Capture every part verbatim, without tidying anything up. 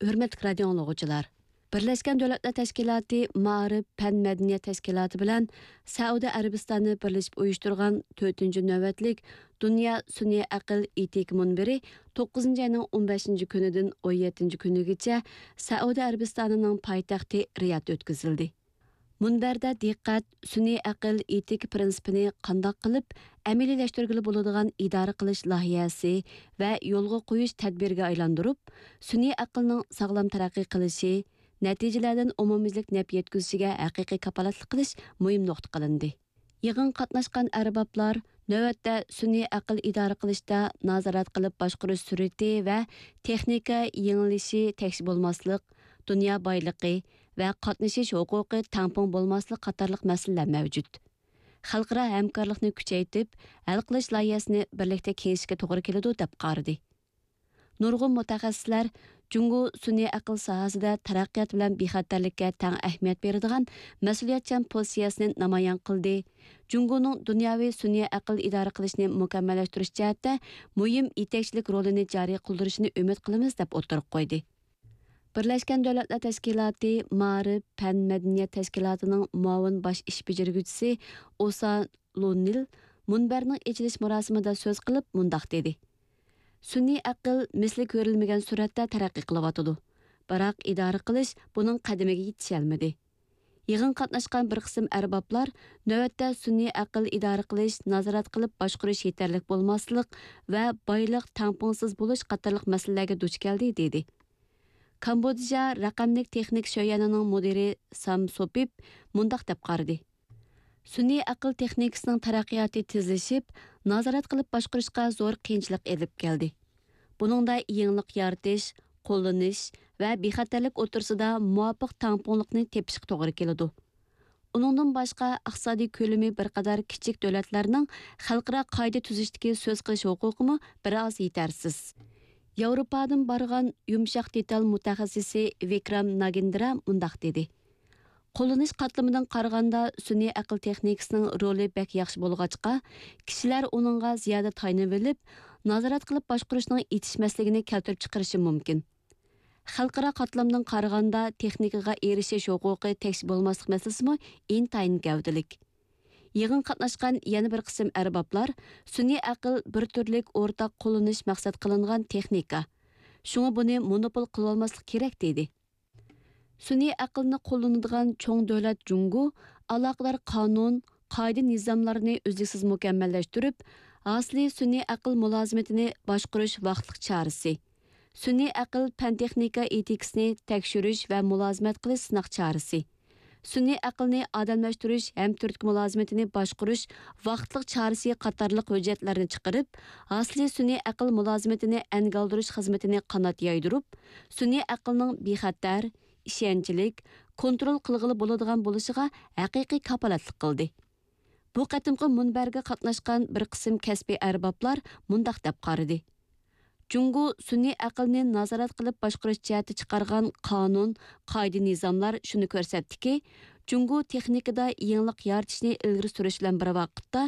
ھۆرمەتلىك رادىئو ئاڭلىغۇچىلار! بىرلەشكەن دۆلەتلەر تەشكىلاتى مائارىپ، پەن، مەدەنىيەت تەشكىلاتى بىلەن سەئۇدى ئەرەبىستانى بىرلىشىپ ئۇيۇشتۇرغان تۆتىنچى نۆۋەتلىك دۇنيا سۈنئىي ئەقىل ئېتىكا مۇنبىرى توققۇزىنچى ئاينىڭ ئون بەشىنچى كۈنىدىن ئون يەتتىنچى كۈنىگىچە سەئۇدى ئەرەبىستانىنىڭ پايتەختى رىيادتا ئۆتكۈزۈلدى. مۇنبەردە دىققەت سۈنئىي ئەقىل ئېتىكا پىرىنسىپىنى قانداق قىلىپ ئەمەلىيلەشتۈرگىلى بولىدىغان ئىدارە قىلىش لايىھەسى ۋە يولغا قويۇش تەدبىرىگە ئايلاندۇرۇپ، سۈنئىي ئەقىلنىڭ ساغلام تەرەققىي قىلىشى، نەتىجىلەردىن ئومۇميۈزلۈك نەپ يەتكۈزۈشىگە ھەقىقىي كاپالەتلىك قىلىش مۇھىم نۇقتا قىلىندى. يىغىنغا قاتناشقان ئەربابلار نۆۋەتتە سۈنئىي ئەقىل ئىدارە قىلىشتا نازارەت قىلىپ باشقۇرۇش سۈرئىتى ۋە تېخنىكا يېڭىلىشى تەكشى بولماسلىق، دۇنيا بايلىقى ۋە قاتنىشىش ھوقۇقى تەڭپۇڭ بولماسلىق قاتارلىق مەسىلىلەر مەۋجۇت. خەلقئارا ھەمكارلىقنى كۈچەيتىپ، ھەل قىلىش لايىھەسىنى بىرلىكتە كېڭىشىشكە توغرا كېلىدۇ، دەپ قارىدى. نۇرغۇن مۇتەخەسسىسلەر جۇڭگو سۈنئىي ئەقىل ساھەسىدە تەرەققىيات بىلەن بىخەتەرلىككە تەڭ ئەھمىيەت بېرىدىغان مەسئۇلىيەتچان پوزىتسىيەسىنى نامايان قىلدى. جۇڭگونىڭ دۇنياۋى سۈنئىي ئەقىل ئىدارە قىلىشنى مۇكەممەللەشتۈرۈش جەھەتتە مۇھىم يېتەكچىلىك رولىنى جارى قىلدۇرۇشىنى ئۈمىد قىلىمىز، دەپ ئوتتۇرىغا قويدى. بىرلەشكەن دۆلەتلەر تەشكىلاتى مائارىپ، پەن، مەدەنىيەت تەشكىلاتىنىڭ مۇئاۋىن باش ئىش بېجىرگۈچىسى ئوسا لونىل مۇنبەرنىڭ ئېچىلىش مۇراسىمىدا سۆز قىلىپ مۇنداق دېدى: سۈنئىي ئەقىل مىسلى كۆرۈلمىگەن سۈرئەتتە تەرەققىي قىلىۋاتىدۇ، بىراق ئىدارە قىلىش بۇنىڭ قەدىمىگە يېتىشەلمىدى. يىغىنغا قاتناشقان بىر قىسىم ئەربابلار نۆۋەتتە سۈنئىي ئەقىل ئىدارە قىلىش، نازارەت قىلىپ باشقۇرۇش يېتەرلىك بولماسلىق ۋە بايلىق تەڭپۇڭسىز بولۇش قاتارلىق مەسىلىلەرگە دۇچ كەلدى، دېدى. كامبودژا رەقەملىك تېخنىكا شۆيەنىنىڭ مۇدىرى سام سوپىپ مۇنداق دەپ قارىدى: سۈنئىي ئەقىل تېخنىكىسىنىڭ تەرەققىياتى تېزلىشىپ، نازارەت قىلىپ باشقۇرۇشقا زور قىيىنچىلىق ئېلىپ كەلدى. بۇنىڭدا يېڭىلىق يارىتىش، قوللىنىش ۋە بىخەتەرلىك ئوتتۇرىسىدا مۇۋاپىق تەڭپۇڭلۇقنى تېپىشقا توغرا كېلىدۇ. ئۇنىڭدىن باشقا، ئىقتىسادىي كۆلىمى بىر قەدەر كىچىك دۆلەتلەرنىڭ خەلقئارا قائىدە تۈزۈشتىكى سۆز قىلىش ھوقۇقىمۇ بىر ئاز يېتەرسىز. ياۋروپادىن بارغان يۇمشاق دېتال مۇتەخەسسىسى ۋىكرام ناگىندرا مۇنداق دېدى: قوللىنىش قاتلىمىدىن قارىغاندا، سۈنئىي ئەقىل تېخنىكىسىنىڭ رولى بەك ياخشى بولغاچقا، كىشىلەر ئۇنىڭغا زىيادە تايىنىۋېلىپ، نازارەت قىلىپ باشقۇرۇشنىڭ يېتىشمەسلىكىنى كەلتۈرۈپ چىقىرىشى مۇمكىن. خەلقئارا قاتلامدىن قارىغاندا، تېخنىكىغا ئېرىشىش ھوقۇقى تەكشى بولماسلىق مەسىلىسىمۇ ئىنتايىن گەۋدىلىك. يىغىنغا قاتناشقان يەنە بىر قىسىم ئەربابلار سۈنئىي ئەقىل بىر تۈرلۈك ئورتاق قوللىنىش مەقسەت قىلىنغان تېخنىكا، شۇڭا بۇنى مونوپول قىلىۋالماسلىق كېرەك، دېدى. سۈنئىي ئەقىلنى قوللىنىدىغان چوڭ دۆلەت جۇڭگو ئالاقىدار قانۇن، قائىدە-نىزاملارنى ئۈزلۈكسىز مۇكەممەللەشتۈرۈپ، ھاسىلى سۈنئىي ئەقىل مۇلازىمىتىنى باشقۇرۇش ۋاقىتلىق چارىسى، سۈنئىي ئەقىل پەن-تېخنىكا ئېتىكىسىنى تەكشۈرۈش ۋە مۇلازىمەت قىلىش سىناق چارىسى، سۈنئىي ئەقىلنى ئادەملەشتۈرۈش ھەم تۈرتكە مۇلازىمىتىنى باشقۇرۇش ۋاقىتلىق چارىسى قاتارلىق ھۆججەتلەرنى چىقىرىپ، ھاسىلى سۈنئىي ئەقىل مۇلازىمىتىنى ئەنگە ئالدۇرۇش خىزمىتىنى قانات يايدۇرۇپ، سۈنئىي ئەقىلنىڭ بىخەتەر، ئىشەنچلىك، كونترول قىلغىلى بولىدىغان بولۇشىغا ھەقىقىي كاپالەتلىك قىلدى. بۇ قېتىمقى مۇنبەرگە قاتناشقان بىر قىسىم كەسپىي ئەربابلار مۇنداق دەپ قارىدى: جۇڭگو سۈنئىي ئەقىلنى نازارەت قىلىپ باشقۇرۇش جەھەتتە چىقارغان قانۇن، قائىدە-نىزاملار شۇنى كۆرسەتتىكى، جۇڭگو تېخنىكىدا يېڭىلىق يارىتىشنى ئىلگىرى سۈرۈش بىلەن بىر ۋاقىتتا،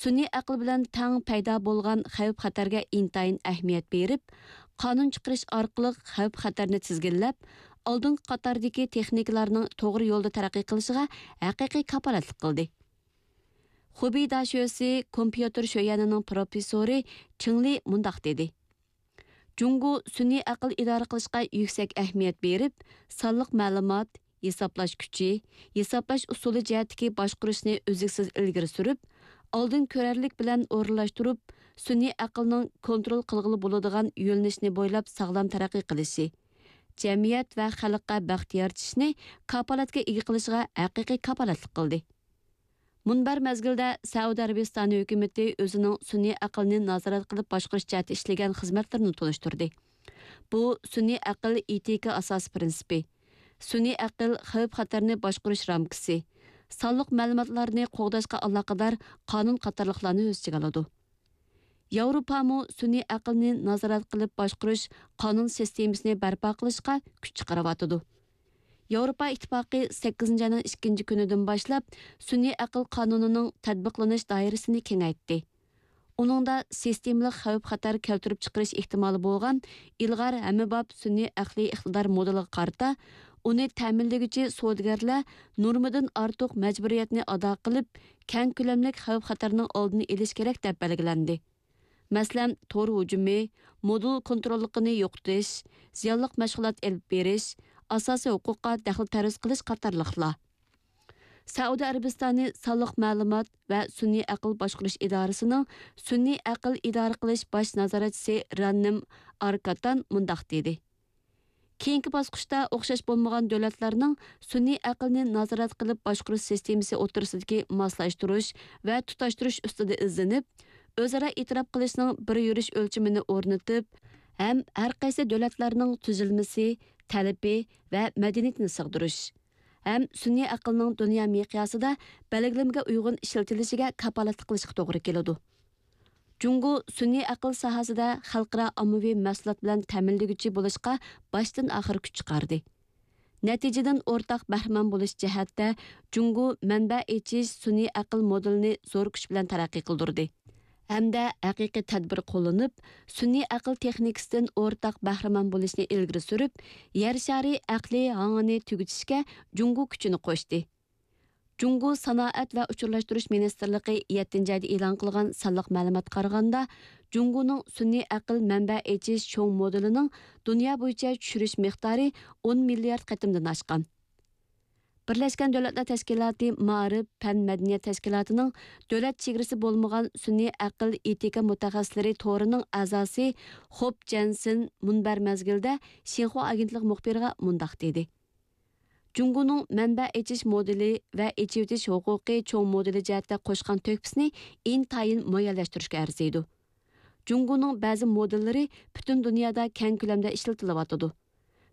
سۈنئىي ئەقىل بىلەن تەڭ پەيدا بولغان خەۋپ-خەتەرگە ئىنتايىن ئەھمىيەت بېرىپ، قانۇن چىقىرىش ئارقىلىق خەۋپ-خەتەرنى تىزگىنلەپ، ئالدىنقى قاتاردىكى تېخنىكىلارنىڭ توغرا يولدا تەرەققىي قىلىشىغا ھەقىقىي كاپالەتلىك قىلدى. خۇبېي داشۆسى كومپيۇتېر شۆيەنىنىڭ پروفېسسورى چېڭ لى مۇنداق دېدى: جۇڭگو سۈنئىي ئەقىل ئىدارە قىلىشقا يۈكسەك ئەھمىيەت بېرىپ، سانلىق مەلۇمات، ھېسابلاش كۈچى، ھېسابلاش ئۇسۇلى جەھەتتىكى باشقۇرۇشنى ئۈزلۈكسىز ئىلگىرى سۈرۈپ، ئالدىن كۆرەرلىك بىلەن ئورۇنلاشتۇرۇپ، سۈنئىي ئەقىلنىڭ كونترول قىلغىلى بولىدىغان يۆنىلىشنى بويلاپ ساغلام تەرەققىي قىلىشى، جەمئىيەت ۋە خەلققە بەخت يارىتىشنى كاپالەتكە ئىگە قىلىشىغا ھەقىقىي كاپالەتلىك قىلدى. مۇنبەر مەزگىلدە سەئۇدى ئەرەبىستانى ھۆكۈمىتى ئۆزىنىڭ سۈنئىي ئەقىلنى نازارەت قىلىپ باشقۇرۇش جەھەتتە ئىشلىگەن خىزمەتلىرىنى تونۇشتۇردى. بۇ سۈنئىي ئەقىل ئېتىكا ئاساسىي پىرىنسىپى، سۈنئىي ئەقىل خەۋپ-خەتەرنى باشقۇرۇش رامكىسى، سانلىق مەلۇماتلارنى قوغداشقا ئالاقىدار قانۇن قاتارلىقلارنى ئۆز ئىچىگە ئالىدۇ. ياۋروپامۇ سۈنئىي ئەقىلنى نازارەت قىلىپ باشقۇرۇش قانۇن سىستېمىسىنى بەرپا قىلىشقا كۈچ چىقىرىۋاتىدۇ. ياۋروپا ئىتتىپاقى سەككىزىنچى ئاينىڭ ئىككىنچى كۈنىدىن باشلاپ سۈنئىي ئەقىل قانۇنىنىڭ تەتبىقلىنىش دائىرىسىنى كېڭەيتتى. ئۇنىڭدا سىستېمىلىق خەۋپ-خەتەر كەلتۈرۈپ چىقىرىش ئېھتىمالى بولغان ئىلغار ھەممىباب سۈنئىي ئەقلىي ئىقتىدار مودېلىغا قارىتا، ئۇنى تەمىنلىگۈچى سودىگەرلەر نورمىدىن ئارتۇق مەجبۇرىيەتنى ئادا قىلىپ، كەڭ كۆلەملىك خەۋپ-خەتەرنىڭ ئالدىنى ئېلىش كېرەك، دەپ بەلگىلەندى. مەسىلەن، تور ھۇجۇمى، مودېل كونتروللۇقىنى يوقىتىش، زىيانلىق مەشغۇلات ئېلىپ بېرىش، ئاساسىي ھوقۇققا دەخلى تەرۇز قىلىش قاتارلىقلار. سەئۇدى ئەرەبىستانى سانلىق مەلۇمات ۋە سۈنئىي ئەقىل باشقۇرۇش ئىدارىسىنىڭ سۈنئىي ئەقىل ئىدارە قىلىش باش نازارەتچىسى راننىم ئاركاتان مۇنداق دېدى: كېيىنكى باسقۇچتا ئوخشاش بولمىغان دۆلەتلەرنىڭ سۈنئىي ئەقىلنى نازارەت قىلىپ باشقۇرۇش سىستېمىسى ئوتتۇرىسىدىكى ماسلاشتۇرۇش ۋە تۇتاشتۇرۇش ئۈستىدە ئىزدىنىپ، ئۆزئارا ئېتىراپ قىلىشنىڭ بىر يۈرۈش ئۆلچىمىنى ئورنىتىپ ھەم ھەر قايسى دۆلەتلەرنىڭ تۈزۈلمىسى، تەلىپى ۋە مەدەنىيىتىنى سىغدۇرۇش ھەم سۈنئىي ئەقىلنىڭ دۇنيا مىقياسىدا بەلگىلىمىگە ئۇيغۇن ئىشلىتىلىشىگە كاپالەتلىك قىلىشقا توغرا كېلىدۇ. جۇڭگو سۈنئىي ئەقىل ساھەسىدە خەلقئارا ئاممىۋى مەھسۇلات بىلەن تەمىنلىگۈچى بولۇشقا باشتىن ئاخىر كۈچ چىقاردى. نەتىجىدىن ئورتاق بەھرىمەن بولۇش جەھەتتە جۇڭگو مەنبە ئېچىش سۈنئىي ئەقىل مودېلىنى زور كۈچ بىلەن تەرەققىي قىلدۇردى ھەمدە ھەقىقىي تەدبىر قوللىنىپ، سۈنئىي ئەقىل تېخنىكىسىدىن ئورتاق بەھرىمەن بولۇشنى ئىلگىرى سۈرۈپ، يەر شارى ئەقلىي ھاڭىنى تۈگىتىشكە جۇڭگو كۈچىنى قوشتى. جۇڭگو سانائەت ۋە ئۇچۇرلاشتۇرۇش مىنىستىرلىقى يەتتىنچى ئايدا ئېلان قىلغان سانلىق مەلۇماتقا قارىغاندا، جۇڭگونىڭ سۈنئىي ئەقىل مەنبە ئېچىش چوڭ مودېلىنىڭ دۇنيا بويىچە چۈشۈرۈش مىقدارى ئون مىليارد قېتىمدىن ئاشقان. بىرلەشكەن دۆلەتلەر تەشكىلاتى مائارىپ، پەن، مەدەنىيەت تەشكىلاتىنىڭ دۆلەت چېگرىسى بولمىغان سۈنئىي ئەقىل ئېتىكا مۇتەخەسسىسلىرى تورىنىڭ ئەزاسى خوپ جەنسېن مۇنبەر مەزگىلىدە شىنخۇا ئاگېنتلىقى مۇخبىرىغا مۇنداق دېدى: جۇڭگونىڭ مەنبە ئېچىش مودېلى ۋە ئېچىۋېتىش ھوقۇقى چوڭ مودېلى جەھەتتە قوشقان تۆھپىسىنى ئىنتايىن مۇئەييەنلەشتۈرۈشكە ئەرزىيدۇ. جۇڭگونىڭ بەزى مودېللىرى پۈتۈن دۇنيادا كەڭ كۆلەمدە ئىشلىتىلىۋاتىدۇ.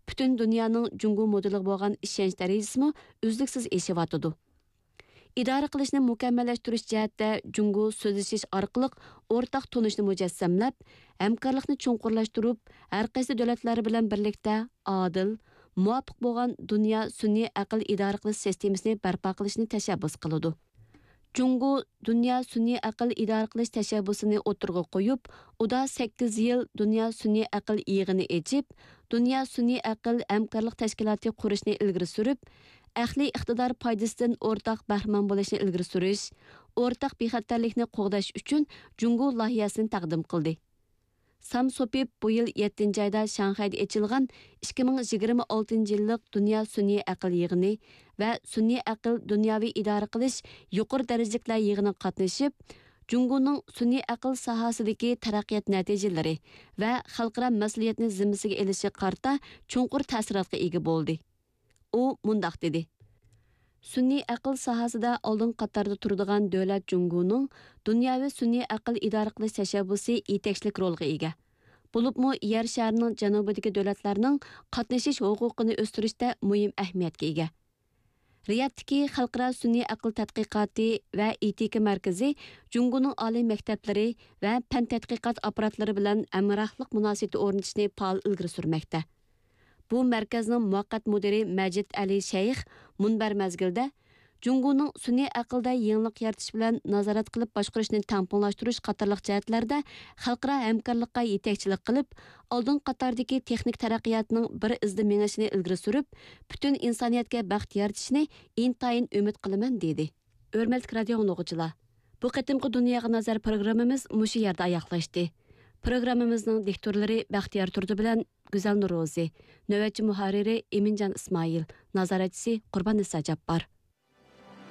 پۈتۈن دۇنيانىڭ جۇڭگو مودېلىغا بولغان ئىشەنچ دەرىجىسىمۇ ئۈزلۈكسىز ئېشىۋاتىدۇ. ئىدارە قىلىشنى مۇكەممەللەشتۈرۈش جەھەتتە جۇڭگو سۆزلىشىش ئارقىلىق ئورتاق تونۇشنى مۇجەسسەملەپ، ھەمكارلىقنى چوڭقۇرلاشتۇرۇپ، ھەر قايسى دۆلەتلەر بىلەن بىرلىكتە ئادىل، مۇۋاپىق بولغان دۇنيا سۈنئىي ئەقىل ئىدارە قىلىش سىستېمىسىنى بەرپا قىلىشنى تەشەببۇس قىلىدۇ. جۇڭگو دۇنيا سۈنئىي ئەقىل ئىدارە قىلىش تەشەببۇسىنى ئوتتۇرىغا قويۇپ، ئۇدا سەككىز يىل دۇنيا سۈنئىي ئەقىل يىغىنى ئېچىپ، دۇنيا سۈنئىي ئەقىل ھەمكارلىق تەشكىلاتى قۇرۇشنى ئىلگىرى سۈرۈپ، ئەقلىي ئىقتىدار پايدىسىدىن ئورتاق بەھرىمەن بولۇشنى ئىلگىرى سۈرۈش، ئورتاق بىخەتەرلىكنى قوغداش ئۈچۈن جۇڭگو لايىھەسىنى تەقدىم قىلدى. سام سوپىپ بۇ يىل يەتتىنچى ئايدا شاڭخەيدە ئېچىلغان ئىككى مىڭ يىگىرمە ئالتىنچى يىللىق دۇنيا سۈنئىي ئەقىل يىغىنى ۋە سۈنئىي ئەقىل دۇنياۋى ئىدارە قىلىش يۇقىرى دەرىجىلىكلەر يىغىنىغا قاتنىشىپ، جۇڭگونىڭ سۈنئىي ئەقىل ساھەسىدىكى تەرەققىيات نەتىجىلىرى ۋە خەلقئارا مەسئۇلىيەتنى زىممىسىگە ئېلىشىغا قارىتا چوڭقۇر تەسىراتقا ئىگە بولدى. ئۇ مۇنداق دېدى: سۈنئىي ئەقىل ساھەسىدە ئالدىنقى قاتاردا تۇرىدىغان دۆلەت جۇڭگونىڭ دۇنياۋى سۈنئىي ئەقىل ئىدارە قىلىش تەشەببۇسى يېتەكچىلىك رولىغا ئىگە. بولۇپمۇ يەر شارىنىڭ جەنۇبىدىكى دۆلەتلەرنىڭ قاتنىشىش ھوقۇقىنى ئۆستۈرۈشتە مۇھىم ئەھمىيەتكە ئىگە. رىيادتىكى خەلقئارا سۈنئىي ئەقىل تەتقىقاتى ۋە ئېتىكا مەركىزى جۇڭگونىڭ ئالىي مەكتەپلىرى ۋە پەن تەتقىقات ئاپپاراتلىرى بىلەن ھەمراھلىق مۇناسىۋىتى ئورنىتىشنى پائال ئىلگىرى سۈرمەكتە. بۇ مەركەزنىڭ مۇۋەققەت مۇدىرى مەجىد ئەلى شەيخ مۇنبەر مەزگىلىدە، جۇڭگونىڭ سۈنئىي ئەقىلدە يېڭىلىق يارىتىش بىلەن نازارەت قىلىپ باشقۇرۇشنى تەڭپۇڭلاشتۇرۇش قاتارلىق جەھەتلەردە خەلقئارا ھەمكارلىققا يېتەكچىلىك قىلىپ، ئالدىنقى قاتاردىكى تېخنىك تەرەققىياتنىڭ بىر ئىزدا مېڭىشىنى ئىلگىرى سۈرۈپ، پۈتۈن ئىنسانىيەتكە بەخت يارىتىشىنى ئىنتايىن ئۈمىد قىلىمەن، دېدى. ھۆرمەتلىك رادىيو ئاڭلىغۇچىلار، بۇ قېتىمقى دۇنياغا نەزەر پروگراممىمىز مۇشۇ يەردە ئاياغلاشتى. پروگراممىمىزنىڭ دىكتورلىرى بەختىيار تۇردى بىلەن گۈزەل نورۇزى، نۆۋەتچى مۇھەررىرى ئىمىنجان ئىسمائىل، نازارەتچىسى قۇرباننىسا جاپپار.